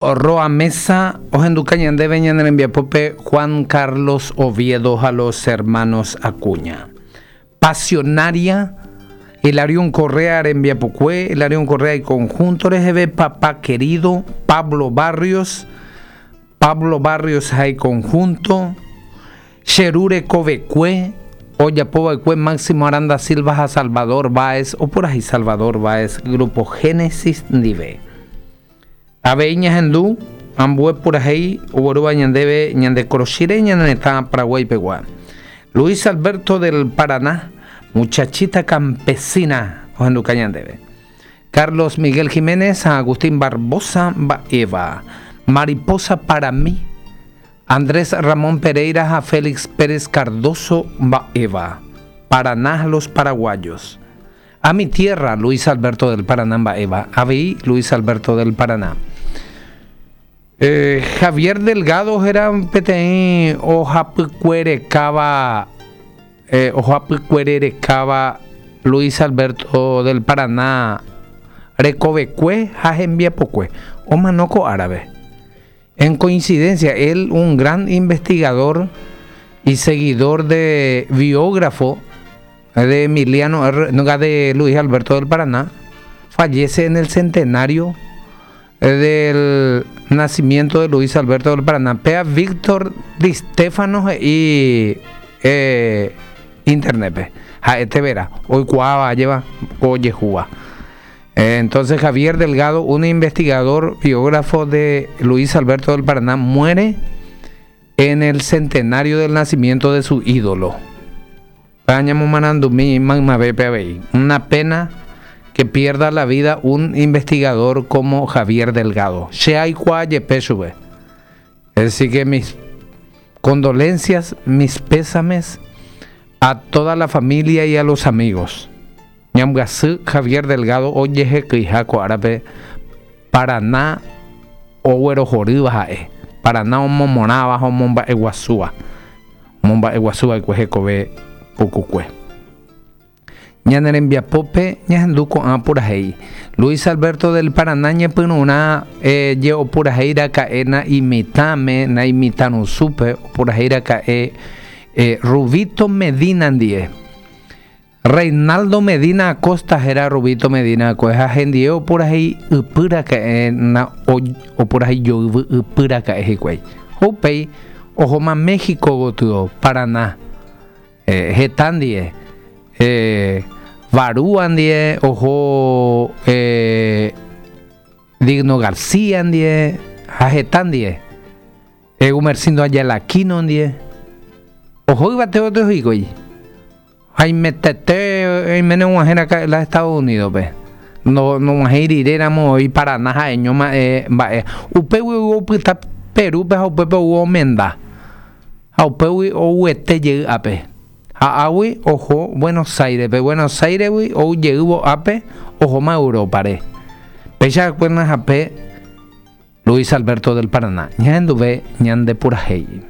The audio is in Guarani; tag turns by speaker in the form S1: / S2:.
S1: Roa Meza ohenduka ñandéve ñane rembiapópe Juan Carlos Oviedo ha los hermanos Acuña. Pasionaria, Hilarión Correa rembiapokue, Hilarión Correa y conjunto reheve, Papá Querido, Pablo Barrios, Pablo Barrios ha iconjunto, Che Ru rekovekue, ojapova'ekue Máximo Aranda Silva ha Salvador Báez, opurahéi Salvador Báez Grupo Génesis ndive. Avei ñahendu ambue purahéi oguerúva ñandéve ñande korochire ñane retã Paraguái pegua. Luis Alberto del Paraná, Muchachita campesina ohenduka ñandéve. Carlos Miguel Jiménez ha Agustín Barboza mba'éva. Mariposa para mí, Andrés Ramón Pereira ha Félix Pérez Cardozo mba'éva. Paraná los paraguayos. A mi tierra, Luis Alberto del Paraná mba'éva, avei Luis Alberto del Paraná. Eh, Javier Delgado héra peteĩ ohapykuerekáva eh, ohapykuererekáva Luis Alberto del Paraná rekovekue ha hembiapokue. Omano ko árape. En coincidencia, él, un gran investigador y seguidor de biógrafo de Emiliano R. de Luis Alberto del Paraná, fallece en el centenario del nacimiento de Luis Alberto del Paraná. Pea Víctor Di Stefano y eh, internet. Ha'ete vera, oikuaáva ajéva ko ojehúva. Entonces Javier Delgado, un investigador biógrafo de Luis Alberto del Paraná, muere en el centenario del nacimiento de su ídolo. Una pena que pierda la vida un investigador como Javier Delgado. Es decir que mis condolencias, mis pésames a toda la familia y a los amigos. Ñambyasy Javier Delgado ojehekyiha ko árape Parana oguerohorýva ha'e, Parana omomorãva ha omomba'eguasúva, omomba'eguasuva'ekue hekove pukukue. Ñane rembiapópe ñahendu ko'ã purahéi. Luis Alberto del Parana ñepyrũrã je opurahéi raka'e na'imitãme, na'imitãrusúpe opurahéi raka'e Rubito Medina ndie. Reinaldo Medina Acosta héra Rubito Medina akue ha hendie opurahéi ypy raka'e na opurahéi joyvy ypy raka'e hikuái. Ha upéi ohóma México gotyo, Paraná, heta ndie, Barúa ndie, oho Digno García ndie ha heta ndie. Gumersindo Ayala Aquino ndie, oho yvate gotyo hikuái. Haimetete oiméne og̃uahẽ raka'e la Estados Unidos-pe. No, nog̃uahẽi rire ramo oĩ Paraná ha'eño ma'e mba'e. Upégui ou opyta Perúpe ha upépe ou omenda. Ha upégui ouete jey ápe. Ha águi oho Buenos Aires-pe. Buenos Aires-gui ou jeývo ápe ohóma Europa-re. Péicha va'ekue hape Luis Alberto del Paraná. Ñahenduve ñande purahéi.